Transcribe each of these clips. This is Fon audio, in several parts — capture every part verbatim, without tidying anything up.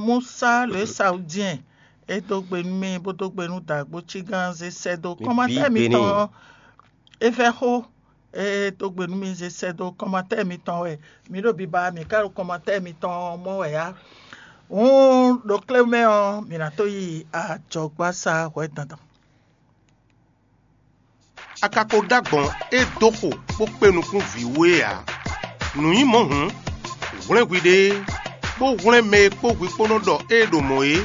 Musa lě Sawudíɛn, é dó gbe nú mì bó dó gbe nú dǎgbó cígán zé sɛ́ dó kɔ́mátɛ́ mitɔn ɔ́, é vɛ́ xó, é dó gbe nú mì zé sɛ́ dó kɔ́mátɛ́ mitɔn wɛ. Mǐ ɖo biba, mǐ ka ɖo kɔ́mátɛ́ mitɔn ɔ́ mɔ wɛ ǎ. Hǔn ɖo klé mɛ ɔ́, mǐ ná tó yi ajɔgbásá hwɛ dandan. A ka ko ɖó agbɔ̌n e dó xo bó kpé nukún vǐ wú é ǎ. Nǔ nyí mɔ̌ hǔn, hwlɛ́n hwiɖée, bó hwlɛ́n mɛ e kpó hwi kpó nɔ ɖɔ ée ɖo mɔ̌ é,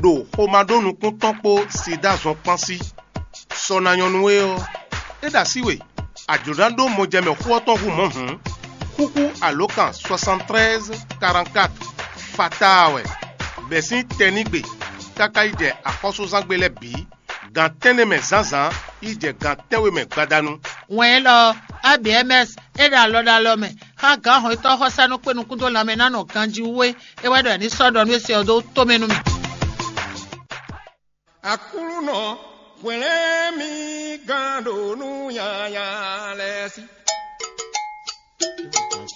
ɖo xomá ɖó nukún tɔn kpó Sidáa zɔn kpán sí. Sɔ ná nyɔ́ nú we ɔ́, é ɖo así we, a jlǒ ná ɖó mɔjɛmɛ xó ɔ́ tɔn hú mɔ̌ hǔn, xúxú alǒkan soixante-treize quarante-quatre fataa wɛ, bɛ̌ sín tɛnígbe káká yi jɛ axɔ́súzángbe lɛ́ɛ bǐ. Gan tɛ́nnɛ mɛ zǎnzǎn yi jɛ gan tɛ́nwe mɛ gbadanu. Wɛn élɔ́ ɔ́, A B M S é ɖo alɔ ɖo alɔ mɛ xá gǎn hɔnnyitɔ́ xɔsánú kpé nukún dó lanmɛ ná nɔ ganjí wú é. É wɛ ɖɔ è ní sɔ́ ɖɔ nú é se ɔ́ dó tomɛ nú mì. Aklúnɔ, hwlɛ́n mì gán ɖo nú nyanya lɛ́ɛ sí.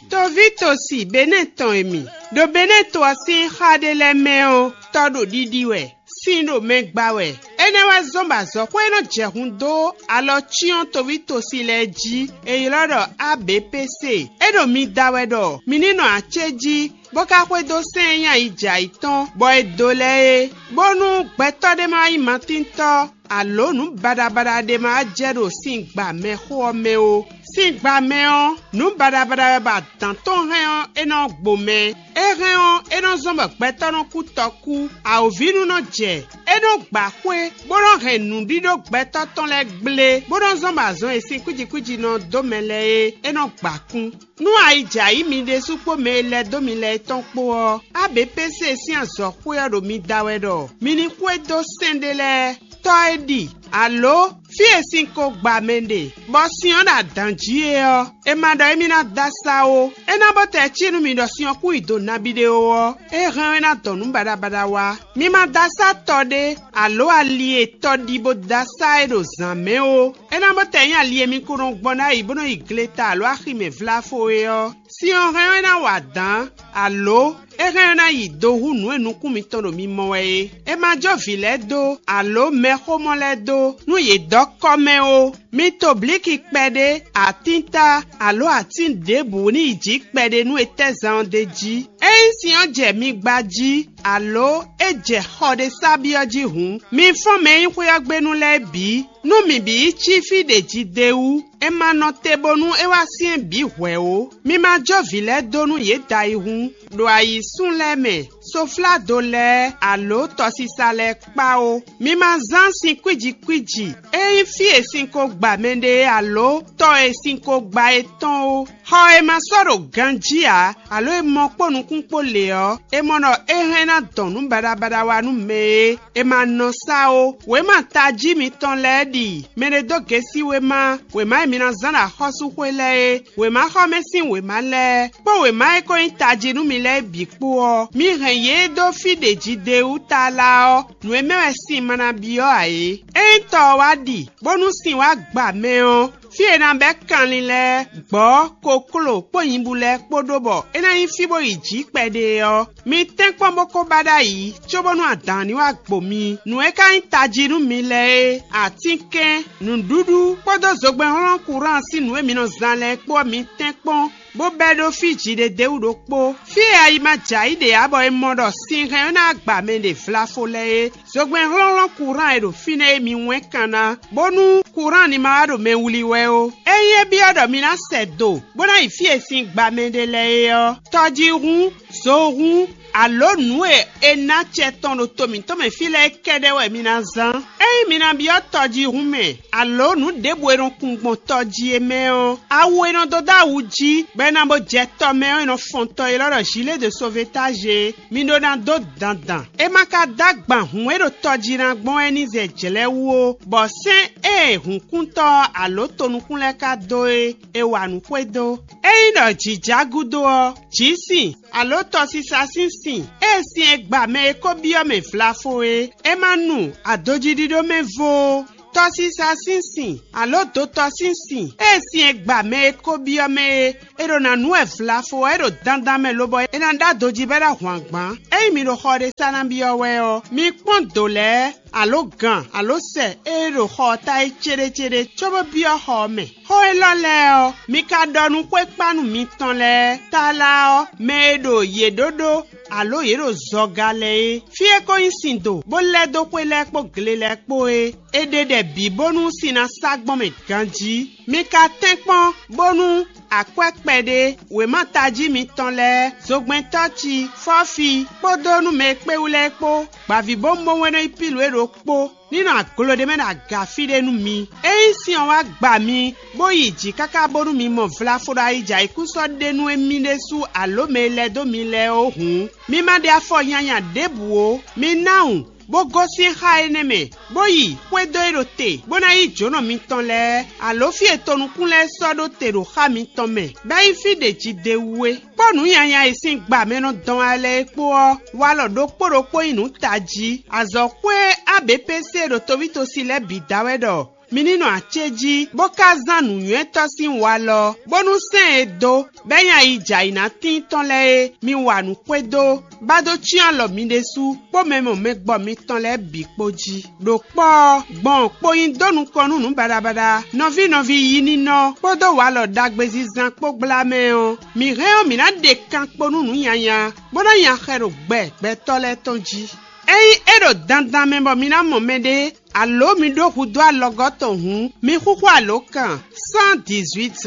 Toví tosi Benɛ́ɛ tɔn e mi ɖo Benɛ́ɛ to ɔ́ sín xá ɖé lɛ́ɛ mɛ ɔ́, tɔ ɖo ɖiɖi wɛ, sin ɖo mɛ gba wɛ. Énɛ́ wɛ zɔ́n bɔ azɔ̌xwé e nɔ jɛ hun dó alɔ cyɔ́n toví tosi lɛ́ɛ jí, è ylɔ́ ɖɔ A B P C. É ɖo mi da wɛ ɖɔ mi ní nɔ acéjí, bó ka xwedó sɛ́n e nyí ayijɛayǐ tɔn, bɔ è dó lɛ́ɛ é, bónú gbɛtɔ́ ɖé ma wá nyí matíntɔ́, alǒ nǔ baɖabaɖa ɖé ma wá jɛ ɖo sin gba mɛ xó ɔ́ mɛ ó. Sin gba mɛ ɔ́, nǔ baɖabaɖa wɛ bɔ adǎn tɔn hɛn ɔ́, é nɔ gbo mɛ. É hɛn ɔ́, é nɔ zɔ́n bɔ gbɛtɔ́ nɔ kú tɔkú. Awǒvínú nɔ jɛ, é nɔ gba xwé, bó nɔ hɛn nǔɖíɖó gbɛtɔ́ tɔn lɛ́ɛ gblé, bó nɔ zɔ́n bɔ azɔn e sin kwíji kwíji nɔ dó mɛ lɛ́ɛ é, é nɔ gba kún. Nú ayi jɛ ayǐ mi ɖésú kpó mɛ e lɛ́ dó mi lɛ́ɛ tɔn kpó ɔ́, A B P C sín azɔ̌xwé ɔ́ ɖo mi da wɛ ɖɔ mi ní xwedó sɛ́n ɖé lɛ́ɛ. Tɔ́ e ɖi, alǒ fí e sin ko gba mɛ ɖe, bɔ sin ɔ́ ɖo adǎn jí é ɔ́, è ma ɖɔ émí ná dó asá ó. É ná bó tɛ cí nú mi ɖɔ sin ɔ́ kún yi do nabí ɖé ó ɔ́, é hɛn ɔ́ é ná dɔn nǔ baɖabaɖa wá. Mi ma dó asá tɔ ɖé, alǒ ali e tɔ ɖi bó dó asá é ɖo zǎn mɛ ó. É ná bó tɛ nyí ali e mi ko nɔ gbɔn ná yi bó nɔ yi gleta alǒ axi mɛ vláfo é ɔ́. Sin ɔ́ hɛn ɔ́ é ná wa dǎn, alǒ é hɛn ɔ́ é ná yi do hú nǔ e nukún mitɔn ɖo mi mɔ wɛ é. È ma jó vǐ lɛ́ɛ dó, alǒ mɛxómɔ lɛ́ɛ dó, nú yě dɔ́ kɔ́ mɛ ó. Mi to blǐki kpɛɖé, atínta, alǒ atín ɖěbǔ ní yi jǐ kpɛɖé nú etɛ́zán ɔ́ d'é jí. Ényí sin ɔ́ jɛ mi gba jí, alǒ é jɛ xɔ ɖé sá byɔ́ jí hǔn, mi fɔ́n mɛ e nyí xwé ɔ́ gbe nú lɛ́ɛ bǐ. Nú mǐ bǐ yi cí fí ɖě jí d'é wú, è ma nɔ te bónú é wá syɛ́n bǐ hwɛ̌ ó. Mi ma jó vǐ lɛ́ɛ dó nú yě da yi hǔn, ɖo ayǐsún lɛ́ɛ mɛ, sofládo lɛ́ɛ, alǒ tɔsisa lɛ́ɛ kpá ó. Mi ma zán sin kwíji kwíji, é nyí fí e sin ko gba mɛɖé alǒ tɔ e sin ko gba é tɔn ó. Xɔ e ma sɔ́ ɖo ganjí ǎ, alǒ e mɔ kpó nukún kpó lě ɔ́, è mɔ ɖɔ é hɛn ná dɔn nǔ baɖabaɖa wá nú mɛ é. È ma nɔ sá ó. Wěma tají mitɔn lɛ́ɛ ɖi mɛ ɖé dó gěsí wěma, wěma e mi ná zán ɖo axɔ́súxwé lɛ́ɛ é, wěmaxɔmɛ sín wěma lɛ́ɛ, kpó wěma e ko nyí tají nú mi lɛ́ɛ bǐ kpó ɔ́, mi hɛn yě dó fí ɖě jí d'é wú tlala ɔ́, nǔ e mɛ wɛ sin ma ná byɔ́ ǎ é. Ényí tɔ ɔ́ wá ɖi, bónú sin wá gba mɛ ɔ́, fí e è nǎ bɛ́ kanlin lɛ́ɛ, gbɔ̌, kokló kpó nyibú lɛ́ɛ kpó ɖó bɔ é ná nyí fí bó yi jǐ kpɛɖé ɔ́, mi tɛ́nkpɔ́n bó ko ba ɖ'ayǐ, cóbónú adǎn ní wá gbo mi. Nǔ e ka nyí tají nú mi lɛ́ɛ é, atínkɛn, nǔɖuɖu kpódó zogbɛ́nhlɔ́n kuráan sín nǔ e mi nɔ zán lɛ́ɛ kpó ɔ́, mi tɛ́nkpɔ́n, bó bɛ́ ɖó fí jǐɖédéwú ɖokpó. Fí e ayi ma jɛ ayǐ ɖe ǎ bɔ è mɔ ɖɔ sin hɛn ɔ́ ná gba mɛ ɖe vlafo lɛ́ɛ é. Zogbɛ́n hlɔ́nhlɔ́n kuráan e ɖo fínɛ́ é mi wɛ́n kan ná, bónú kuráan ní ma wá ɖo mɛ wlí wɛ ó. Ényí é byɔ́ ɖɔ mi ná sɛ do, bó ná yi fí e sin gba mɛ ɖe lɛ́ɛ é ɔ́, tɔjíhún, zohún, alǒ nǔ e è ná acɛ tɔn ɖo to mǐtɔn mɛ fí lɛ́ɛ kɛ́ɖɛ́ wɛ mi ná zán. Ényí mi ná byɔ́ tɔjíhún mɛ, alǒ nǔ ɖěbǔ e nɔ kun gbɔn tɔ jí é mɛ ɔ́, awu e nɔ dó dó awu jí, bɔ è nǎ bó jɛ tɔ mɛ ɔ́, è nɔ fɔn tɔ élɔ́ ɖɔ gilet de sauvetage é. Mi ɖó ná dó dandan. É ma ka dó agban hǔn e ɖo tɔ jí ná gbɔn wɛ ní zɛ jlɛ̌ wú ó, bɔ sɛ́n e hǔnkúntɔ́ ɔ́ alǒ tonukún lɛ́ɛ ka dó é, è wa nǔ xwedó. Ényí ɖɔ jǐ já gúdo ɔ́, jǐ sin, alǒ tɔsisa sín sin, ée sin e gba mɛ e ko byɔ́ mɛ vlafo é, é ma nu adojíɖíɖó mɛ vo ó. Tɔsisa sín sin, alo dotɔ sín sin, ée sin e gba mɛ e ko byɔ́ mɛ é, è ɖo nǎ nu wɛ vlafo ɔ́, é ɖo dandan mɛ lobɔ é ná ɖó adojí bɔ é ná hwan gbǎn. Ényí mi ɖo xɔ ɖé sa ná byɔ́ wɛ ɔ́, mi kpɔ́n dǒ lɛ́ɛ, alo gan, alo sɛ e ɖo xɔ ɔ́ ta é céɖécéɖé, cóbó byɔ́ xɔ ɔ́ mɛ. Xó élɔ́ lɛ́ɛ ɔ́, mi ka ɖɔ nú xwékpánu mitɔn lɛ́ɛ, tlala ɔ́, mɛ e ɖo yě ɖó ɖó, alo yě ɖo zɔga lɛ́ɛ é. Fí e ko nyí sin do, bó lɛ́ dó xwé lɛ́ɛ kpó gle lɛ́ɛ kpó é, è ɖe ɖɛ bǐ bónú sin ná sá gbɔn mɛ ganjí. Mi ka tɛ́nkpɔ́n bónú akwɛ́ kpɛɖé, wěma tají mitɔn lɛ́ɛ, zogbɛ́ntɔ́ ci, fɔ́fi, kpódó nú mɛ e kpé wú lɛ́ɛ kpó, gbǎvíbówúnbówún e nɔ nyí Pilu é ɖokpó, ní nɔ aglo ɖé mɛ ɖo aga fí ɖé nú mi. Ényí sin ɔ́ wá gba mi, bó yi jǐ káká bónú mi mɔ vlafo ɖo ayijɛ ayǐkúsɔ́ ɖé nú émí ɖésú alǒ mɛ e lɛ́ dó mi lɛ́ɛ ó hǔn, mi ma ɖe afɔ nyanya ɖěbǔ ó. Mi ná wun, bó gosín xá énɛ́ mɛ, bó yi xwedó e ɖo te, bó ná yí jǒnɔ mitɔn lɛ́ɛ, alǒ fí e tonukún lɛ́ɛ sɔ́ ɖó te ɖo xá mitɔn mɛ, bɔ é nyí fí ɖě jí d'é wú é. Kpó nǔ nyanya e sín gba mɛ nɔ dɔn wá lɛ́ɛ é kpó ɔ́, walɔ ɖokpó ɖokpó nyí nǔ tají. Azɔ̌xwé A B P C ɖo tovítosi lɛ́ɛ bǐ da wɛ ɖɔ mi ní nɔ acéjí, bó ka zán nǔnywɛ́tɔ́ sín walɔ, bónú sɛ́n e dó, bɔ é nyí ayi jɛ ayǐ ná tíin tɔn lɛ́ɛ é, mi wa nǔ xwedó, bá dó cyɔ́n alɔ mi ɖésú, kpó mɛ mɔ mɛ gbɔ mitɔn lɛ́ɛ bǐ kpó jí. Ɖo kpɔ́ ɔ́, gbɔn kpo nyi dó nukɔn nú nǔ baɖabaɖa, nɔví nɔví yi ninɔ kpódó walɔ ɖagbezinzan kpó gbla mɛ ɔ́, mǐ hɛn ɔ́, mǐ ná ɖe kan kpo nú nǔ nyanya, bó ná nya xɛ ɖo gbɛ gbɛtɔ́ lɛ́ɛ tɔn jí. Ényí é ɖo dandan mɛ bɔ mi ná mɔ mɛɖé, alǒ mi ɖó hudó alɔgɔ́ tɔn hǔn, mi xúxú alǒkan cent dix-huit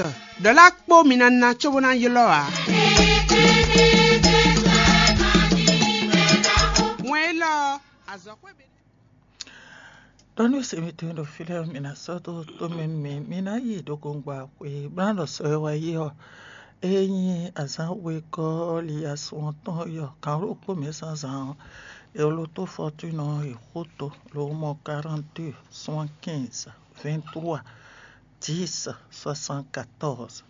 ɖɔ̌lá kpó mi ná ná cóbó ná ylɔ́ ǎ. Wɛn élɔ́ ɔ́, azɔ̌xwé ɖɔ nú se mitɔn ɖo fí lɛ́ɛ, mi ná sɔ́ dó tomɛ nú mì, mi ná yi ɖo gongba xwe bó ná ɖɔ sɔ e wá yi ɔ́, é nyí azǎn wegɔ́ ɔ́ li asɔn tɔn yɔ kan ɖokpó mɛ zǎnzǎn ɔ́, è lo tó fɔtúnɔ e xóto lo mɔ quarante-deux soixante-quinze vingt-trois dix soixante-quatorze.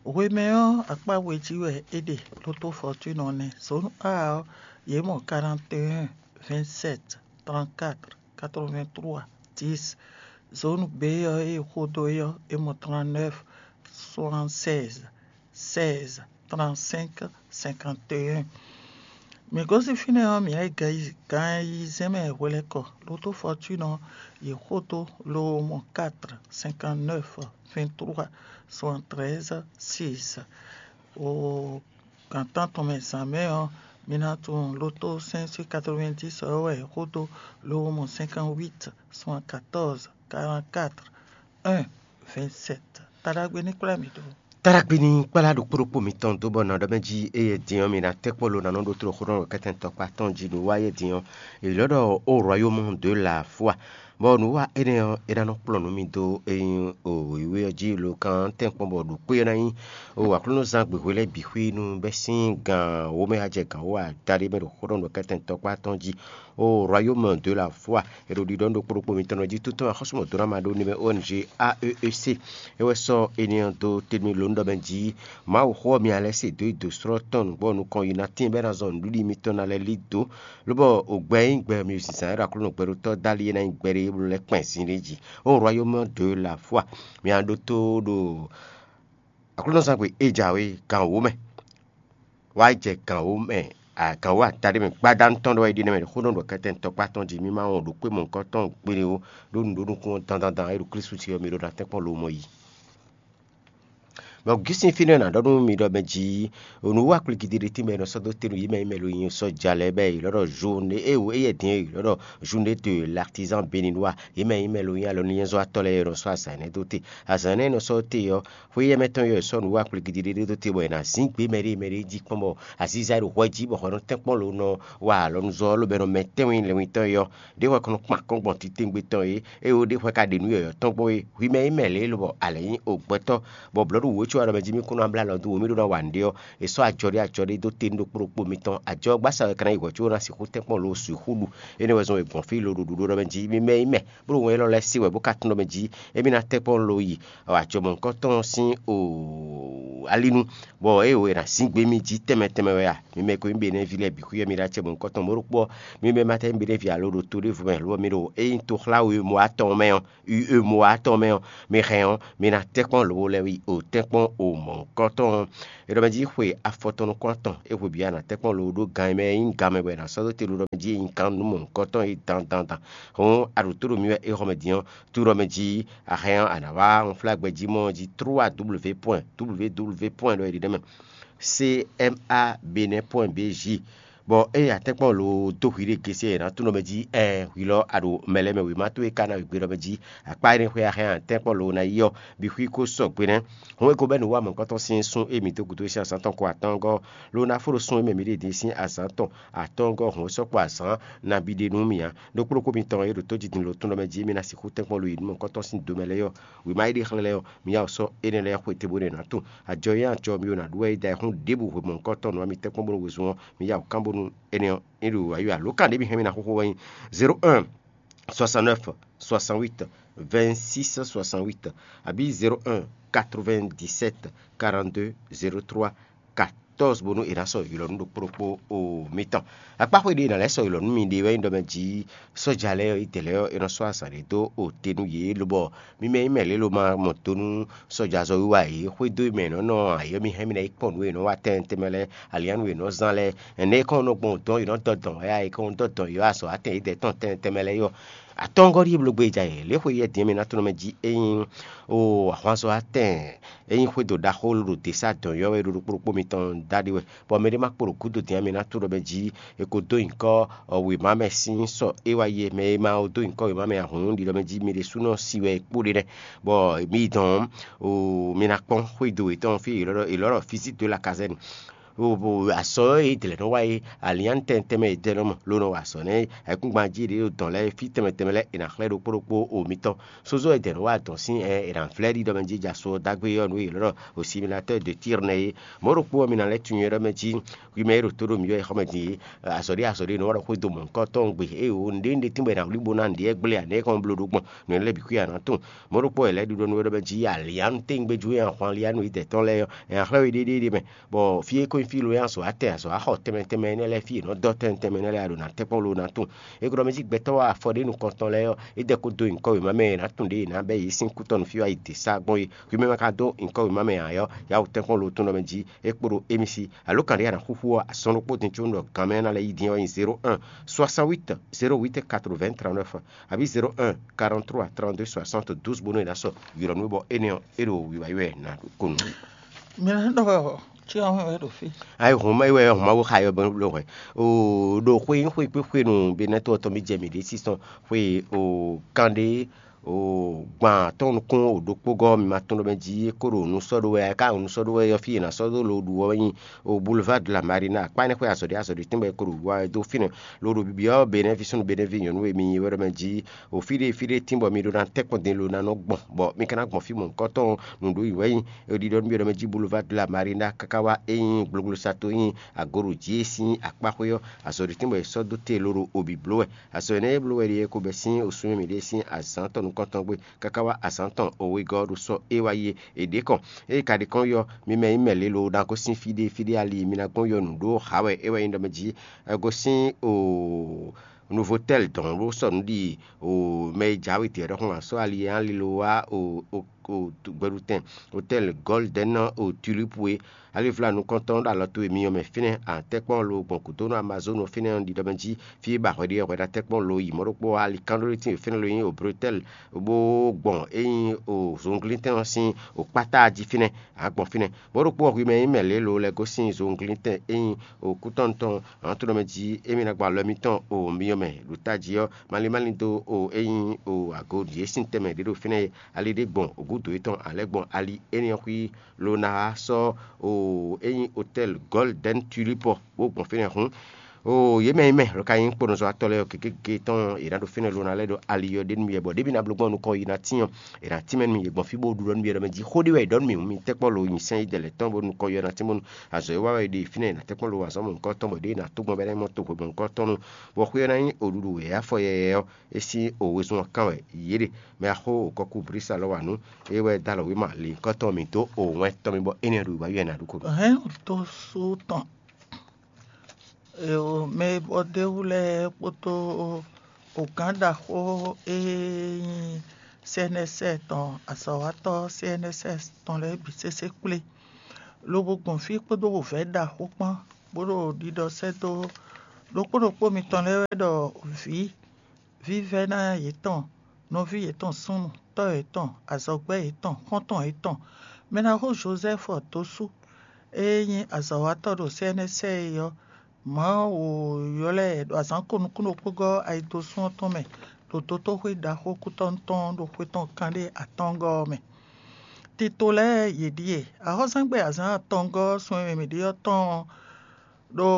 Hwemɛ ɔ́, akpá we jí wɛ é ɖe, lo tó fɔtúnɔ nɛ́. Zǒnu A ɔ́, yě mɔ quarante-et-un vingt-sept trente-quatre quatre-vingt-trois dix. Zone B ɔ́ e xo dó é ɔ́, é mɔ trente-neuf soixante-seize seize trente-cinq cinquante et un. Mǐ gosín fínɛ́ ɔ́, mǐ yi gan ayizɛ́n mɛ hwelɛ́kɔ, lotó Fɔtúnɔ yi xo dó lo mɔ quatre cinquante-neuf vingt-trois soixante-treize six. O Gan tántɔn mɛ zǎn mɛ ɔ́, mi ná tunwun lotó cinq cent quatre-vingt-dix ɔ́ wɛ xódó lówó mɔ cinquante-huit soixante-quatorze quarante-quatre un vingt-sept. Taɖagbe ní kplá mi dó. Taɖagbe ní kplá ɖokpó ɖokpó mitɔn dó bɔ nǎ ɖɔ mɛ jí éyɛ́ din ɔ́, mi ná tɛ́ kpɔ́ lo ná nɔ ɖó tló xó nɔ ɖo kɛ́tɛn tɔkpá tɔn jí ɖo wá éyɛ́ din ɔ́, è lɔ̌ ɖɔ ó royaume de la foi. Bɔ nǔwiwa énɛ́ ɔ́, é ná nɔ kplɔ́n nǔ mi dó é nyí wěwé ɔ́ jí lo kan tɛ́nkpɔ́n bɔ ɖo kpé ɔ́ ná nyí o Aklúnɔzán gbe hwe lɛ́ɛ bǐ xwí nú bɛ́ sín gan wǒ mɛ wá jɛ gan wǒ adaɖé mɛ ɖo xó ɖɔ nú kɛ́tɛn tɔkpá tɔn jí. O royaume de la foi, è ɖo ɖiɖɔ nú ɖokpó ɖokpó mitɔn jí tó tɔn axɔ́súmɔdónámaɖónúmɛ O N G A E E C. É wɛ sɔ́ énɛ́ ɔ́ dó tɛ́nú lǒnɖɔ mɛ jí Mawuxó ɔ́ mi ná lɛ́ se dó yi dǒ slɔ́ tɔn nǔgbó nukɔn yi ná tɛ́n bɔ é ná zɔn nǔɖiɖi mitɔn ná lɛ́ lí dǒ. Lobɔ o gbɛ e nyí gbɛ mì zǐnzán e ɖo Aklúnɔ gbɛɖótɔ́ dali é ná nyí gbɛɖe e bló lɛ́ kpɛn sin ɖé jí. O royaume de la foi, mi ná ɖótó ɖo Aklúnɔzán gbe e jǎwe gan wǒ mɛ. Wá jɛ gan wǒ mɛ, gan wǒ ata ɖé mɛ gbadanu tɔn ɖɔ é ɖi nɛ́ mɛ xó nɔ ɖɔ kɛtɛn tɔkpá tɔn jí mì ma wɔn ɖo kpé mɔ̌hunkɔtɔn gbére ó, ɖó nǔ ɖó nukún ɔ́ dandandan e ɖo Klísu jí ɔ́, mi ɖó ná tɛ́nkpɔ́n lomɔ yi. Bɔ gísin fínɛ́ ná ɖɔ nú mi ɖɔ mɛ jí, nǔ wa kplígídí ɖé tínmɛ e nɔ sɔ́ dó te nú yě mɛ e mɛ lo nyi sɔ́ja lɛ́ɛ bɔ è ylɔ́ ɖɔ journée e wǒ éyɛ́ din e è ylɔ́ ɖɔ journée de l'artisan béninois, yě mɛ e mɛ lo nyi alɔnúnyɛ́zɔ́watɔ́ lɛ́ɛ e nɔ sɔ́ azǎn énɛ́ dó te. Azǎn énɛ́ e nɔ sɔ́ dó te ɔ́, xwé éyɛ́ mɛ tɔn ɔ́ è sɔ́ nǔ wa kplígídí ɖé dó te bɔ è nǎ zín gbé mɛɖée mɛɖée jí kpɔ́n bɔ azíza e ɖo hwɛ jí bɔ hwɛ nɔ tɛ́nkpɔ́n lo nɔ wa alɔnuzɔ́ ɔ́, lobɔ è nɔ mɛ tɛ́nwe lɛnwetɔ́ é ɔ́, ɖě hwɛ kɔn nɔ kpan akɔ́n gbɔn titewungbe tɔn é, ée ó ɖě hwɛ ka ɖe nǔ yɔ̌yɔ́ tɔn gbɔn é, hwi mɛ e mɛ lě lobɔ a lɛ̌ nyí ogbɛtɔ́, bɔ blɔ̌ɖu wǒ Ɖɔ mɛ jí mì kún ná blá lɔ dó wǒ mì ɖó ná wa nǔɖé ɔ́, è sɔ́ ajɔ ɖé ajɔ ɖé dó te nú ɖokpó ɖokpó mitɔn. Ajɔ gbásá wɛ ka ná yi hwɛ̌ có ná sixú tɛ́nkpɔ́n lo sixú ɖu. Énɛ́ wɛ zɔ́n è gbɔn fí lo ɖo ɖuɖu ɖɔ mɛ jí mì mɛ nyí mɛ, bó ɖo wɛn élɔ́ lɛ́ɛ se wɛ bó ka tunwun ɖɔ mɛ jí émí ná tɛ́nkpɔ́n lo yi ajɔ mɔ̌hunkɔtɔn sín o alinu, bɔ é wǒ è nǎ zín gbé mì jí tɛnmɛ tɛnmɛ wɛ a? Mi mɛ e ko nyí Benɛ́ví lɛ́ɛ bǐ xwíyɔ́ mi ɖo acɛ mɔ̌hunkɔtɔn mɔ̌ ɖokpó ɔ́, mi mɛ ma tɛ́ nyí Benɛ́ví alo ɖo to ɖěvo mɛ, lo ɔ́, mi ɖo ényí toxláwe mɔ atɔn mɛ ɔ́, U E mɔ atɔn mɛ ɔ́, mi hɛn ɔ́, mi ná tɛ́nkpɔ́n lobo lɛ́ yi o tɛ́nkpɔ́n o mɔ̌hunkɔtɔn ɔ́. È ɖɔ mɛ jí xwe afɔtɔn nukún atɔn é hwe bǐ a nǎ tɛ́nkpɔ́n lobo ɖó gan e mɛ e nyí gan mɛ bɔ è nǎ sɔ́ dó te ɖo ɖɔ mɛ jí é nyí gan nú mɔ̌hunkɔtɔn e dandan dan. Hǔn a ɖo tó ɖo mì wɛ é xɔ mɛ din ɔ́, to ɖɔ mɛ jí a hɛn ɔ́, a nǎ wá unflágbɛjí mɔ ɔ́ jí trois W point W W point ɖɔ è ɖi nɛ́ mɛ. C M A Bénin point B J. Bɔ ée a tɛ́nkpɔ́n lo dó hwi ɖé gésé e è nǎ tunwun ɖɔ mɛ jí ɛɛ hwi lɔ a ɖo mɛ lɛ́ɛ mɛ wěma towe ka ná wegbe ɖɔ mɛ jí akpá énɛ́ xwé a hɛn a tɛ́nkpɔ́n lo ná yi ɔ́, bǐ xwí ko sɔgbe nɛ́. Hɔn é ko bɛ́ nǔ wa mɔ̌hunkɔtɔn sín sún e mǐ dó gǔdo sín azǎn tɔn ko atɔ́ɔ́ngɔ́ ɔ́, lo ná fó ɖo sún e mɛ mǐ ɖe din sín azǎn tɔn atɔ́ɔ́ngɔ́ hɔn é sɔ́ kpo azǎn nabí ɖé nú mì ǎ. Ɖokpó ɖokpó mitɔn e ɖo tó jí din lo tunwun ɖɔ mɛ jí émí ná sixú tɛ́nkpɔ́n lo yi nǔ mɔ̌hunkɔtɔn sín do mɛ lɛ́ɛ ɔ́, wěma e ɖe xlɛ́ lɛ́ɛ ɔ́, mi yá wǔ sɔ́ énɛ́ lɛ́ɛ xwetɛ́ bó ɖe nǎ tunwun. Ajɔ e nyí ajɔ mi ɖo nǎ ɖu wɛ é da ayǐhún ɖěbǔ hwe mɔ̌hunkɔtɔn nǔ ɔ́, mi tɛ́nkpɔ́n bónú hwezun ɔ́, mi yá wǔ kán bónú énɛ́ ɔ́, é ɖo ayǐ wɛ ǎ. Lǒ kan ɖě mi hɛn mi ná xóxó wɛ nyí zéro un soixante-neuf soixante-huit vingt-six soixante-huit abǐ zéro un quatre-vingt-dix-sept quarante-deux zéro trois quatorze bónú è nǎ sɔ́ ylɔ̌ nú ɖokpó ɖokpó o mitɔn. Akpáxwé ɖé è nǎ lɛ́ sɔ́ ylɔ̌ nú mi ɖe wɛ nyí ɖɔ mɛ jí sɔ́ja lɛ́ɛ ɔ́, itɛ̌ lɛ́ɛ ɔ́, è nɔ sɔ́ azǎn ɖé dó o te nú yě, lobɔ mi mɛ nyí mɛ lě lo ma mɔ do nú sɔ́jazɔ́wiwa e yě xwedó e mɛ è nɔ́ nɔ ǎ é ɔ́, mi hɛn mi ná yi kpɔ́n nǔ e è nɔ wa tɛnmɛ tɛnmɛ lɛ́ɛ, aliǎnu e è nɔ zán lɛ́ɛ, ɛnɛ́ e kɔn nɔ gbɔn dɔn è nɔ dɔ dɔn wɛ a, è kɔn dɔ dɔn yě azɔ̌ atɛn yědɛɛ tɔn tɛnmɛ tɛnmɛ lɛ́ɛ é ɔ́, atɔ́ngɔ́ ɖíe bló gbé ja yě. Lě xwe yɛ din e mi ná tunɔ mɛ jí é nyí o ahwanzɔ atɛn é nyí xwédo ɖaxó ɖo dě sá dɔn yɔ́ wɛ ɖo ɖokpó ɖokpó mitɔn da ɖi wɛ, bɔ mɛɖé ma kpo ɖo gúdo din e mi ná tunɔ mɛ jí è ko dó nyǐkɔ wěma mɛ sín sɔ é wá yi é. Mɛ e ma dó nyǐkɔ wěma mɛ ahǔn ɖiɖɔ mɛ jí mi ɖésúnɔ si wɛ è kpó ɖe nɛ́, bɔ mi dɔn o mi ná kpɔ́n xwédo yětɔn fí è lɔ́ ɖɔ fizí dó la kazɛ́ni. Azɔ̌ e dlɛ̌ nɔ wa é, alián tɛnmɛ tɛnmɛ e dɛ nɔ mɔ ló nɔ wa azɔ̌ nɛ́ ayǐkúngban jí ɖě ɖo dɔ̌n lɛ́ɛ fí tɛnmɛ tɛnmɛ lɛ́ɛ è nǎ xlɛ́ ɖokpó ɖokpó o mitɔn. Sózó e dɛ̌ nɔ wa dɔ̌n sín ɛ è nǎ vlɛ́ ɖi ɖɔ mɛ jí ja so ɔ́ dó agbe ɔ́ nǔ e è lɔ́ ɖɔ osimilatɔ́ de tír nɛ́ é. Mɔ̌ ɖokpó ɔ́, mi ná lɛ́ tunwun é ɖɔ mɛ jí hwi mɛ e ɖo tó ɖo mǐ wɛ é xɔ mɛ din é. Azɔ̌ ɖé azɔ̌ ɖé nɔ wa ɖɔ xwédo mɔ̌hunkɔtɔn gbe ée o nǔɖé nǔɖé tínbɔ è nǎ wlí bó ná nǔɖé gbléa nɛ̌ kɔn bló ɖó gbɔn nǔ énɛ́ lɛ́ɛ bǐ xwí a nǎ tunwun. Mɔ̌ ɖokpó wɛ è lɛ́ ɖiɖɔ nú we ɖɔ mɛ jí alián téŋgbéjú e a hwan alián nǔ yi dɛ̌tɔn lɛ́ɛ ɔ́, è nǎ xlɛ́ we ɖéɖéɖé mɛ, bɔ fí e ko nyí fí lo e azɔ̌ atɛn azɔ̌ axɔ tɛnmɛ tɛnmɛ énɛ́ lɛ́ɛ fí è nɔ dɔ́ tɛnmɛ tɛnmɛ énɛ́ lɛ́ɛ a ɖo nǎ tɛ́nkpɔ́n lo ná tunwun. É ko ɖɔ mɛ jí gbɛtɔ́ afɔ ɖé nukɔntɔn lɛ́ɛ ɔ́, é dɛ ko dó nyǐkɔ wěma mɛ e è nǎ tunwun ɖě è nǎ bɛ́ yě sín kú tɔn nú fí wá yi dě sá gbɔn é. Hwi mɛ ma ka dó nyǐkɔ wěma mɛ ǎ ɔ́, yǎ wǔ tɛ́nkpɔ́n lo tún ɖɔ mɛ jí é kpo ɖo émí sí. Alo kan ɖé a nǎ xúxú ɔ́, azɔn ɖokpó din có un ɖɔ gan mɛ ná lɛ́ yi din ɔ́ nyí zéro un soixante-huit zéro huit quatre-vingts trente-neuf abǐ zéro un quarante-trois trente-deux soixante-douze bónú è nǎ sɔ ylɔ̌ nú we bɔ énɛ́ ɔ́, é ɖo wiwa yi wɛ ná ko nu. Mi ná ɖɔ wɛ ɔ, cí ɔ́ wɛ ɖo fí. Ayi hɔn ma yi wɛ hɔn ma wo xa yɔ bɔ lo hwɛ. O ɖo xwe xwe kpé xwe nu be nɛ to ɔtɔ mi jɛ mi ɖe sísɔn xwe o kan ɖé o gban tɔn nukún o ɖokpó gɔ mi ma tɔn ɖɔ mɛ jí é ko ɖo nu sɔ ɖo wɛ ka nu sɔ ɖo wɛ yɔ fí yě ná sɔ ɖo lo ɖu wɛ nyi o boulevard de la marina akpa ne xwe azɔɖi azɔɖi tɛnbɛ ko ɖo wa do fínɛ lo ɖo bibiɔ benɛ fi sunu benɛ fi nyɔnu e mi nyi wɛ ɖɔ mɛ jí o fí ɖé fí ɖé tín bɔ mi ɖo ná tɛkpɔn din lo ná nɔ gbɔn bɔ mi ka ná gbɔn fí mɔ̌hunkɔtɔn nǔɖuɖu wɛ nyi ɖiɖɔ nú mi ɖɔ mɛ jí boulevard de la marina káká wá é nyí gblogblo sato nyí agoɖo jí é sín akpáxwé ɔ́, azɔ̌ ɖé tɛ́nbɔ è sɔ́ dó te lóɖo obi bló wɛ. Azɔ̌ énɛ́ e bló wɛ ɖíe ko bɛ́ sín osúnmɛ mǐɖée sín azǎn tɔn nukɔntɔn gbe káká wá azǎn tɔn owegɔ́ ɔ́ ɖo sɔ́ é wá yi é ɖě kɔn. Ée ka ɖi kɔn yɔ, mi mɛ nyí mɛ lě lo ná gosín fí ɖé fí ɖé ali, mi ná gbɔn yɔ nǔ ɖó ha wɛ é wɛ nyí ɖɔ mɛ jí gosín o Novotel dɔn bó sɔ́ nǔ ɖi o mɛ e jǎwe tɛ́ ɖɔhun asɔ́ ali e ali lo wá o o o gbɛɖutɛn Hôtel Golden o Tulipe e. Alivla nukɔntɔn ɖo alɔ towe myɔ mɛ fínɛ́, a tɛ́nkpɔ́n lo gbɔn gǔdo nú Amazonu fínɛ́ ɔ́ ɖiɖɔ mɛ jí fí e ba hwɛ ɖe ɔ́, hwɛ ɖo atɛ́nkpɔ́n lo yi mɔ̌ ɖokpó ali kán ɖó ɖé tín fínɛ́ lo nyí o Bretel bó gbɔn é nyí o zunglíntɛn ɔ́ sín o kpátá jí fínɛ́, a gbɔn fínɛ́. Mɔ̌ ɖokpó ɔ́, hwi mɛ nyí mɛ lě lo lɛ́ gosín zunglíntɛn é nyí o kútɔ́nu tɔn hɔnto ɖɔ mɛ jí émí ná gba alɔ mitɔn o myɔ mɛ ɖo tají ɔ́, malín malín dó o é nyí o ago ɖě sín tɛnmɛ ɖě ɖo fínɛ́ e ali ɖé gbɔn gǔdo yětɔn a lɛ́ gbɔn ali énɛ́ ɔ́ xwí lo ná wá sɔ́ o é nyí Hôtel Golden Tulipe ɔ́ bó gbɔn fínɛ́ hǔn. Oo, yě mɛ e mɛ lɔ ka nyí kponɔzɔ́watɔ́ lɛ́ɛ ɔ́, kekeke tɔn è nǎ ɖo fínɛ́ lo ná lɛ́ ɖo ali ɔ́ ɖe nú yɛ, bɔ ɖěbǔ ná bló gbɔn nukɔn yi ná tín ɔ́, è nǎ tín mɛ nú mì yě gbɔn fí bó ɖu ɖɔ nú mì ɖɔ mɛ jí xó ɖé wɛ è ɖɔ nú mì hǔn, mi tɛ́kpɔ́n lo nyi sɛ́n yi dɛ lɛ̌ tɔn bó nukɔn yi ɔ́ ná tín bónú azɔ̌ e wa wɛ è ɖe fínɛ́ è nǎ tɛ́kpɔ́n lo azɔ̌ mɔ̌hunkɔtɔn tɔn bɔ ɖěe è nǎ tó gbɔn bɔ é ná nyí oɖuɖu wěwé afɔ yɛyɛ ɔ́, é sín o wezun ɔ́ kán wɛ yě ɖe. Mɛ axó òkɔkú Blísa lɔ wa nǔ, é wɛ dó alɔ wěma lǐnkɔ́tɔn mǐ dó o wɛn tɔn mì bɔ énɛ́ ɖo wǎ yɛ ná ɖu ko. Hɛn dó sú tɔn mɛ e bɔ d'é wú lɛ́ɛ kpódó ogǎn ɖaxó e nyí C N S S tɔn azɔ̌watɔ́ C N S S tɔn lɛ́ɛ bǐ sésé kplé, lobo gbɔn fí kpódó wǔvɛ́ ɖaxó kpán, bó ɖo ɖiɖɔ sɛ́ dó ɖokpó ɖokpó mitɔn lɛ́ɛ wɛ ɖɔ vǐ, vívɛ́ná yětɔn, nɔví yětɔn súnnu, tɔ́ yětɔn, azɔ̌gbɛ́ yětɔn, xɔ́ntɔn yětɔn, mɛ ná xo Jozɛ́fu dó sú, e nyí azɔ̌watɔ́ ɖo C N S S é ɔ́, Mawu ylɔ́ ɛ ɖo azǎn ko nukúnnú ɖokpó gɔ́ ayidosún ɔ́ tɔn mɛ, ɖo dotóxwé ɖaxó kútɔ́nú tɔn ɖo xwe tɔn kanɖé atɔ́ɔ́ngɔ́ ɔ́ mɛ. Tito lɛ́ɛ yě ɖíe: axɔ́sɛ́ngbe azǎn atɔngɔ́ sun e mɛ mǐ ɖe ɔ́ tɔn ɔ́, ɖo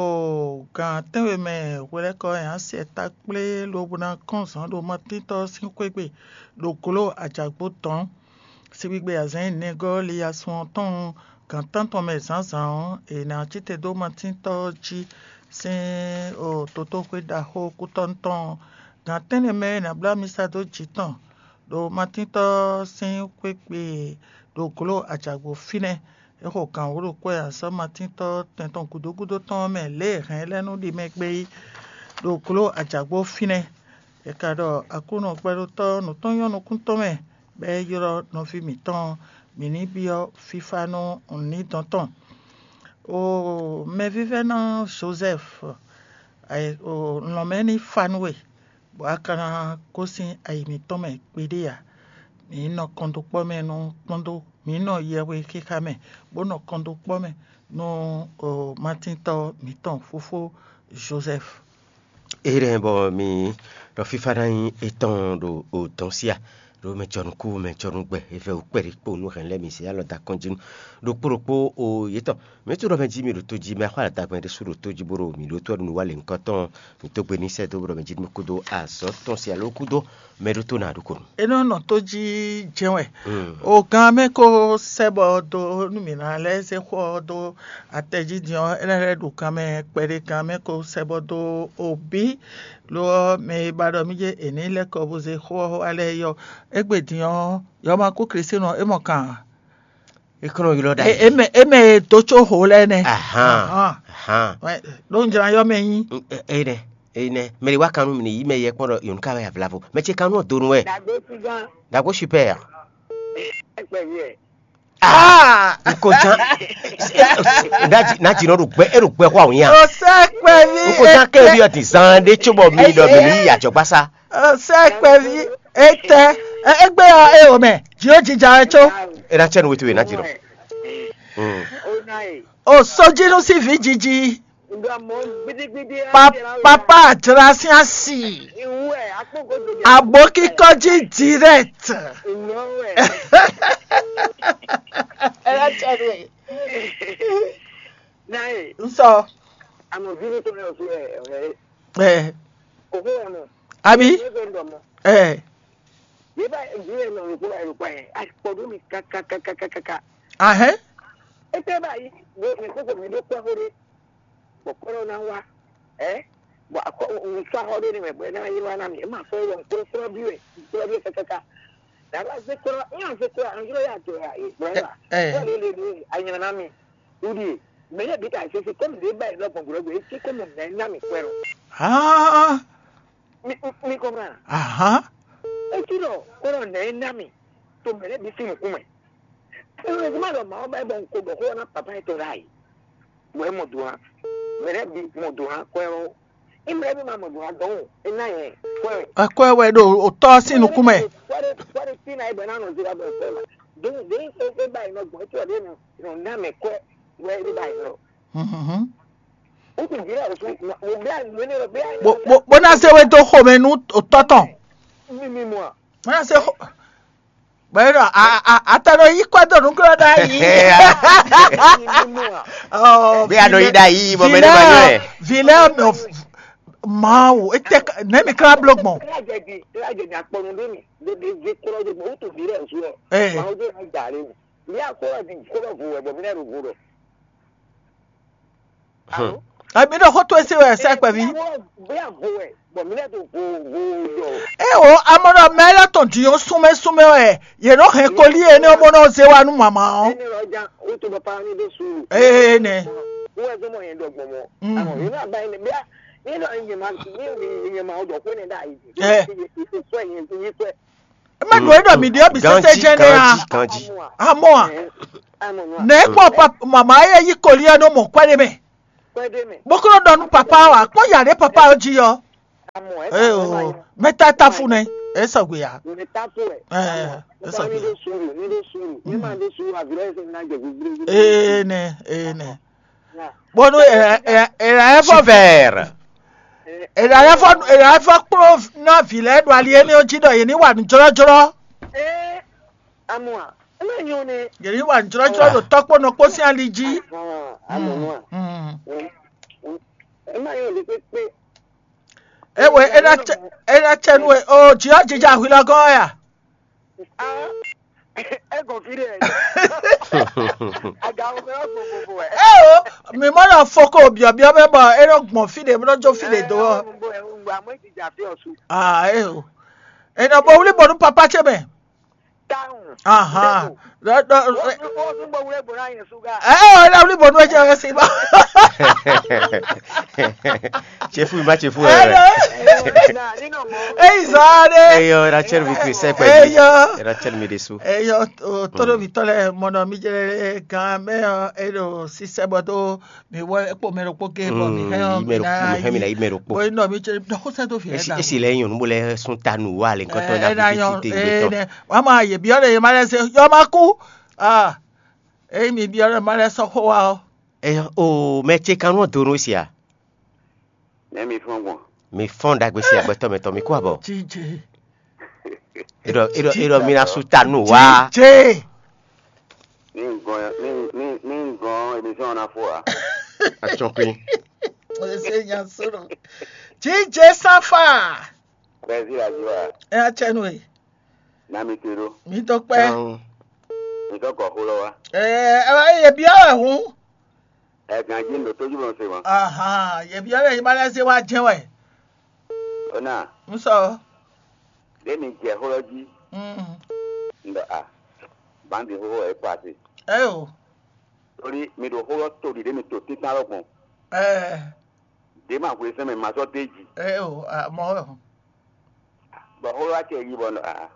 gan tɛ́nwe mɛ hwelɛ́kɔ nyi así ta kplé lobo ná kɔn zǎn ɖo Matíntɔ́ sín xwé gbe ɖo glǒ ajǎgbó dɔ̌n. Sigbigbe azǎn nɛgɔ́ liyasun ɔ́ tɔn gan tántɔn mɛ zǎnzǎn ɔ́, è nǎ cí te dó Matíntɔ́ jí sín dotóxwé ɖaxó kútɔ́nú tɔn ɔ́. Gan tɛ́nnɛ mɛ é nǎ bló amisa dó jǐ tɔn ɖo Matíntɔ́ sín xwé gbe ɖo glǒ ajǎgbó fínɛ́. É xo gǎn wǒ ɖo kwɛ́ azɔ̌ Matíntɔ́ tɛn tɔn gǔdo gúdo tɔn ɔ́ mɛ lě e hɛ̌n lɛ́ɛ nú ɖi mɛ gbé yi ɖo glǒ ajǎgbó fínɛ́. È ka ɖɔ Aklúnɔ gbɛɖotɔ́ nǔ tɔn nyɔ́ nukún tɔn mɛ, bɔ é ylɔ́ nɔví mǐtɔn mǐ ní byɔ́ fífá nú nǔnídɔn tɔn. Oo, mɛvívɛ́ná Jozɛ́fu, lɔ̌nmɛ ní fa nú we, bɔ a ka ná gosín ayi mǐtɔn mɛ kpiɖé ǎ. Mǐ nɔ kɔndókpɔ́ mɛ nú kpɔ́ndó, mǐ nɔ yɛhwe xixa mɛ, bó nɔ kɔndókpɔ́ mɛ nú matíntɔ́ mǐtɔn fófó Jozɛ́fu. Énɛ́ bɔ mi ɖɔ fífá ná nyí étɔn ɖo odɔn sí a? Ɖo mɛ jɔnukú, mɛ jɔnugbɛ, evɛ wú kpɛɖé kpo nú hɛn lɛ́ɛ mi zě alɔ da kɔn jí nú ɖokpó ɖokpó o yětɔn. Mǐ tunwun ɖɔ mɛ jí mi ɖo tó jí, mɛ xɔ aladagbɛn ɖésú ɖo tó jí bó ɖo mǐ ɖótó nú wa lěhunkɔtɔn. Mǐ dó gbe ní sɛ́ dó bó ɖɔ mɛ jí nú kúdó azɔ̌ tɔn sí alo kúdó mɛ ɖótó ná ɖokó nu. É nɔ nɔ tó jí jɛ́n wɛ. O gán mɛ ko sɛ́ bɔ dó nú mǐ ná lɛ́ zé xó ɔ́ dó atɛ jí din ɔ́, é ná lɛ́ ɖo gán mɛ kpɛɖé gán mɛ ko sɛ́ bɔ dó o bí. Lo ɔ́, mɛ e ba ɖɔ mì jɛ è nǐ lɛ́ kɔ bó zé xó ɔ́ wá lɛ́ɛ yɔ. Égbé din ɔ́, yɔ́ ma kú Klísu nɔ é mɔ kan ǎ. É kɔn nɔ ylɔ́ ɖ'ayǐ. É mɛ é mɛ e dó có ho lɛ́ɛ nɛ́. Ahán. Ahán. Ahán. Wɛ, ɖó un jlá yɔ́ mɛ nyí. Énɛ́, énɛ́, mɛ ɖé wá kan nú mì ní yí mɛ yɛ kpɔ́n ɖɔ yǒnu ka wɛ avlavo. Mɛ ce kan nú ɔ́ donu wɛ. Dàgbé super. Dàgbé super. Ẹgbẹ́ yẹ. Ah! Nkojan. Naji naji nɔ ɖo gbɛ e ɖo gbɛ xɔ awon ya. O sɛ kpɛvi. Nkojan kɛ bi ɔti zan ɖe tso bɔ mi ɖɔ mi ni yi adzɔgbasa. O sɛ kpɛvi etɛ egbe ɔ e o mɛ dzi o jija ɛ tso. E na tsɛ nu wetu e na dzi nɔ. O sojinu si vi jiji. Papa jra sín asi. Abo kíkọ́ jí direct. N sɔ. Ɛ. Abi. Ɛ. Ahɛn. Bɔkɔlɔ na wa ɛ bɔ akɔ ŋutsu axɔ ɖe ne mɛ bɔ ɛna yi wa na mi ema fɔ yɔ nkplɔ kplɔ bi wɛ nkplɔ bi wɛ kakaka daba ze kplɔ nya ze kplɔ anjro ya to ya e bɔ ɛna kɔ le le le anyina na mi wuli mɛ ne bi ka sese kɔmi de ba yi lɔ gbɔngbɔn gbɛ esi kɔmi mɛ na mi kpɛ lɔ. Haa. Mi mi kɔmra. Ahan. Esi lɔ kɔnɔ nɛ na mi to mɛ ne bi si nukun mɛ. Heureusement ɖɔ Mawu ba yi bɔ un ko ɖɔ xó ɔ́ ná papa etɔn ɖ'ayǐ, bɔ é mɔ do hã. Mɛ lɛ́ɛ bǐ mɔ do hã kwɛ ɔ́. Imlɛ́ bí ma mɔ do hã dɔn o, é ná nyɛ kwɛ wɛ. Akwɛ wɛ ɖo otɔ́ sín nukún mɛ. Kwɛ ɖé kwɛ ɖé tí ná é bɔ é ná nɔ zira bɔ é kwɛ ma. Dó dó é é ba yi nɔ gbɔn é tí wɔ ɖé nɔ nɔ ná mɛ kwɛ wɛ é ba yi nɔ. Mhm. Ó kún jí rẹ̀ ó sún mo bí àná ní lọ bí àná. Bó bó bó ná zé wé dó xomɛ nú otɔ́ tɔn. Mímí mu à. Bó ná zé xo. Bẹ́ẹ̀ ni a a a tẹ ló yí kọ́ dọ̀nù kúrò náà yìí. Bí a nɔ yí dá yìí, bọ́ mɛ ní ma nyɔ ẹ̀. Vilẹ́ ọ̀nà Mawu, etɛ nɛ̌ mi klá bló gbɔn? Tragédie, tragédie akpɔnu ɖé mi. Ɖe ɖe vi kplɔ ɖe gbɔn wutu vi ɖe nsu ɔ. Ee. Mawu ɖe na da ɖe mi. Mi akɔ ɖe kɔ ɖe vo wɛ bɔ mi na ɖo vo ɖɔ. Alo? Ami ɖo xó tó esi wɛ sɛ kpɛví. Bí a vo wɛ bɔ mi na ɖo vo vo ɖɔ. Ee o, amɔ ɖɔ mɛ lɛ tɔn di yɔn súnmɛ súnmɛ wɛ. Yě nɔ hɛn koli énɛ́ bó nɔ zé wá nú mama ɔ́. Ɛnɛ lɔ jan wutu bɔ pa ni ɖo su. Ee nɛ. Wọ́n ẹ̀ tó mọ̀ yẹn dọ̀gbọ̀n mọ́. Mm. Àmọ́ yìí náà báyìí ni bí a nínú ìyẹn máa nínú ìyẹn máa ọdọ̀ pé ní dáa yìí. Ẹ. Ìfẹ́ yẹn ti yí pẹ́. Ẹ má dùn ẹ́ dọ̀ mí dé ọ́bì sẹ́sẹ́ Ganji, jẹ́ ní a. Ganji, Ganji. Àmọ́ à. Àmọ́ nù. Nà ẹ kpọ́ màmá ayé yí kò lí ẹ ní mọ̀ kwẹ́ ní mẹ́. Pẹ́ dé mẹ́. Bókúrò dɔnu papa wa kpọ́ yàrá papa ó jí yọ. Àmọ́ ẹ Ẹ o, mẹ́ta ta fún nẹ. Ẹ sọ̀gbìn yá. Mẹ́ta fún ẹ. Ẹ ẹ sọ̀gbìn yá. Ní ló sùúrù, ní ló sùúrù. Ní màá ló sùúrù àbúrò ẹ̀sìn náà jẹ̀ gbígbí. Ee nẹ, ee nẹ. Bónú èrà èrà ẹ fọ vẹẹrẹ. Èrà ẹ fọ èrà ẹ fọ kpló náà vǐ lɛ́ɛ ɖo ali énɛ́ jí ɖɔ yě ní wà ní jlɔ́jlɔ́. Ee, amua, eme nyɔ ne. Yě ní wà ní jlɔ́jlɔ́ ɖo tɔ́kpó nɔkpó sín ali jí. Amɔnua. Mm. Ema nyɔ ne pépé. Ewe ena cɛ ena cɛ nu e o jí ɔ jija hwi lɔ gɔ́n ya. Ah, ego fi ɖe. Aga wo mɛ vo vo vo ɛ. Eo, mi mɔ nɔ foko biɔbiɔ mɛ bɔ e nɔ gbɔn fi ɖe, bo nɔ jo fi ɖe do ɔ. Nugbo ɛ nugbo amɔ eti dza fi ɔsu. Ah, eo. E nɔ bo wuli bɔ nu papa ce mɛ. Tawun. Aha. Dɔ dɔ. Wo wo nugbo wule bo na yɛ suga. Eo, e nɔ wuli bɔ nu e ce ɔ si ba. Tsefu ma tsefu ɛ. Eyi zɔ ɖe. Eyɔ, Rachel bi kiri sɛ kpɛ. Eyɔ. Rachel mi ɖe su. Eyɔ, o tɔɖo mi tɔ lɛ mɔnɔ mi jɛ gan mɛ ɔ, e ɖo sisɛ bɔ do mi wɔ ekpo mɛ ɖokpo ge bɔ mi hɛn ɔ mi na yi. Hɛn mi na yi mɛ ɖokpo. Bo nɔ mi jɛ dɔ ko sɛ do fi. Esi esi lɛ nyɔnu bo lɛ sun ta nu wa le nkɔtɔ na fi fi te gbetɔ. Wa ma ye biɔ ɖe ye ma lɛ se yɔ ma ku. Ah. Eyi mi biɔ ɖe ma lɛ sɔ xo wa ɔ. Eyɔ, o mɛ ce kan nɔ do nu sia. Nɛ mi fɔn gbɔn. Mi fɔn ɖagbe si agbɛtɔ mɛ tɔn mi kú abɔ. Jije. Eɖɔ eɖɔ eɖɔ mi na su ta nu wa. Jije. Ní n gɔn ní ní ní n gɔn emission na fo a. Atsɔkui. Ese nya soro. Jije safa. Brazil aziwa. Ɛ atsɛnu e. Na mi te ɖo. Mi to kpɛ. Mi tɔ kɔ xó lɔ wa. Ɛ ɛ ye bia wɛ hun. Ɛ ganji ɖo tójú mɔ se mɔ. Ahan, ye bia wɛ yi ma lɛ se wa jɛ wɛ. Ona. N sɔ. Ɖe mi jɛ xó lɔ jí. Mm. N ɖɔ a. Bandi xó wɛ e kpa se. Ɛ o. Torí mi ɖo xó lɔ to ɖi ɖe mi to títán lɔ gbɔn. Ɛ. Ɖe ma hwe sɛn mɛ ma sɔ dé ji. Ɛ o, a mɔ wɛ o. Bɔ xó lɔ wá kɛ yi bɔ nɔ a.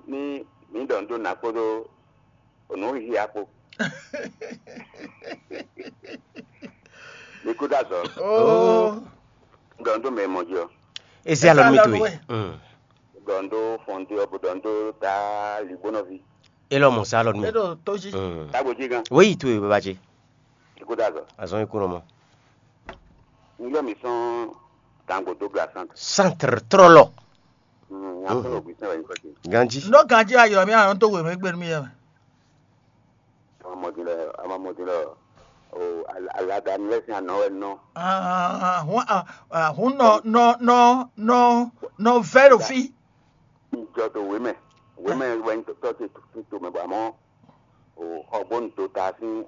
Ní mǐ ɖɔ nǔ dó nǎ kpódó nǔ hihi akpo. Mi kú dá zɔ. Oh. Ɖɔ nǔ dó mɛ mɔ jí ɔ. Ezi alɔ mi to yi. Ɖɔ nǔ dó fɔn dó ɔbɔ ɖɔ nǔ dó ta ligbónɔví. Elɔ mɔ sa alɔ mi. Eɖo tó jí. Tágbó jí gan. Wéyi to yi baba ce. Mi kú dá zɔ. Azɔn yi kú nɔ mɔ. N yɔ mi sɔn Dangodo gla centre. Centre trɔlɔ. Ganji. N ɖo ganji ayɔ mi anɔ to wěwé gbe nú mi yɛ mɛ. Amamɔdin lɛ, amamɔdin lɛ, o alagani lɛ sin anɔ wɛ nɔ. Hun nɔ nɔ nɔ nɔ nɔ vɛ ɖo fi. Jɔ to wěmɛ, wěmɛ wɛ n tɔ te to mɛ bɔ amɔ o xɔgbɔnu to ta sín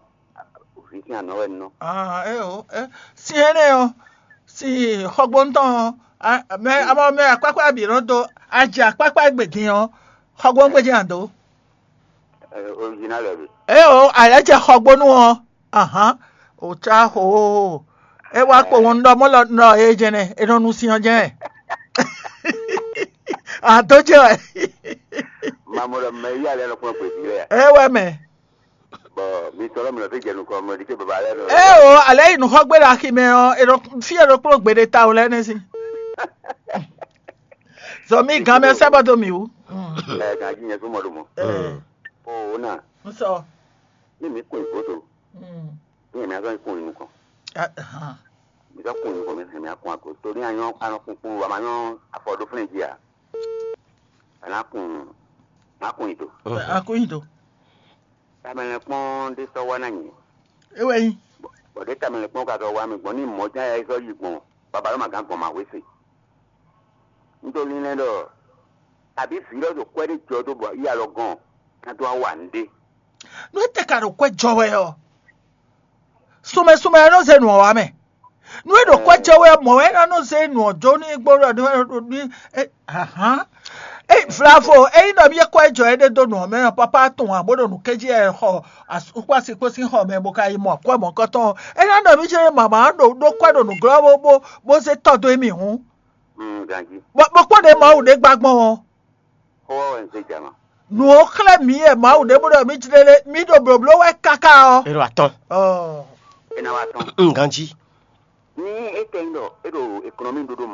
vǐ sín anɔ wɛ n nɔ. Ah, é o, é, sin énɛ́ ɔ́, sin xɔgbɔnu tɔn ɔ́, mɛ amɔ mɛ akpákpá bǐ nɔ dó, ajɛ akpákpá gbe din ɔ́, xɔgbɔnu gbe din ado. Original ɛ bi. É o, ayɛ jɛ xɔgbɔnu ɔ́, ahan, o ca xo, é wá kpo ŋɔnu ɖɔ mɔ lɔ nɔ é jɛnɛ, é nɔ nu sin ɔ́ jɛnɛ. Ado jɛ wɛ. Mamɔ ɖɔ mɛ yí alɛ nɔ kplɔn gbèsè lɛ. É wɛ mɛ. Bɔ mi tɔlɔ mi nɔ fi jɛ nukɔ mɔ ɖi ke baba lɛ nɔ. É o, alɛ yi nukɔ gbé ɖe axi mɛ ɔ, e nɔ fi e nɔ kplɔn gbé ɖe ta o lɛ nɛ si. Zɔ mi gan mɛ sɛ bɔ do mi wu. Ɛ gan ji nyɛ súnmọ́ ɖo mɔ. O na. N sɔ. Ní mi kún ìkóso. Ní èmi azɔ kún ìnukàn. Mi sɔ kún ìnukàn mi hẹn mi akún àgbo. Torí àyàn anɔkùnkùn wa ma yàn afɔ ɖó fúnni jí à. Àná kún má kún ìdò. Akún ìdò. Tamɛlɛ kpɔn ɖé sɔ wá ná nyɛ. Ewé yín. Bɔ̀dé tamɛlɛ kpɔn ka sɔ wá mi gbɔn ní mɔ̌ ján yá sɔ yí gbɔn. Baba lɔ ma gán gbɔn ma hwe se. Un to linlɛn ɖɔ àbí vǐ lɔ ɖo kwɛ ɖé jɔ dó bɔ yi alɔ gɔn ná dó wa nǔɖé. Nú é tɛ ka ɖo kwɛ jɔ wɛ ɔ́, sumɛ sumɛ ɛ nɔ zé nǔ ɔ́ wá mɛ. Nú é ɖo kwɛ jɔ wɛ ɔ́, mɔ̌ wɛ é ná nɔ zé nǔ ɔ́ jó nú igbó ɖɔ ní ahan. Ée Vlavo, ényí nɔ mì é kwɛ jɔ éɖée dó nǔ ɔ́ mɛ ɔ́, pápá tɔn ǎ bó ɖo nǔ kéjí ɛ xɔ asúkpási kpó sín xɔ mɛ bó ka yi mɔ akwɛ́ mɔ̌kɔtɔn. É ná nɔ mì jɛ mama ɖo ɖó kwɛ ɖo nǔglɔ́ bó bó bó zé tɔ́ dó émí hǔn. Mm, ganjí. Bó bó kpɔ́n ɖě Mawu ɖě gba gbɔn ɔ́. Xó wɛ wɛ un zé jama. Nǔ ɔ́ xlɛ́ mǐ yɛ Mawu ɖě bó ɖɔ mí jlélé, mí ɖo blǒbló wɛ káká ɔ́. Ero atɔn. Ɔɔ. É ná wá tɔn. Mm, ganjí. Ní é tɛ nyí ɖɔ é ɖo économie ɖóɖó mɔ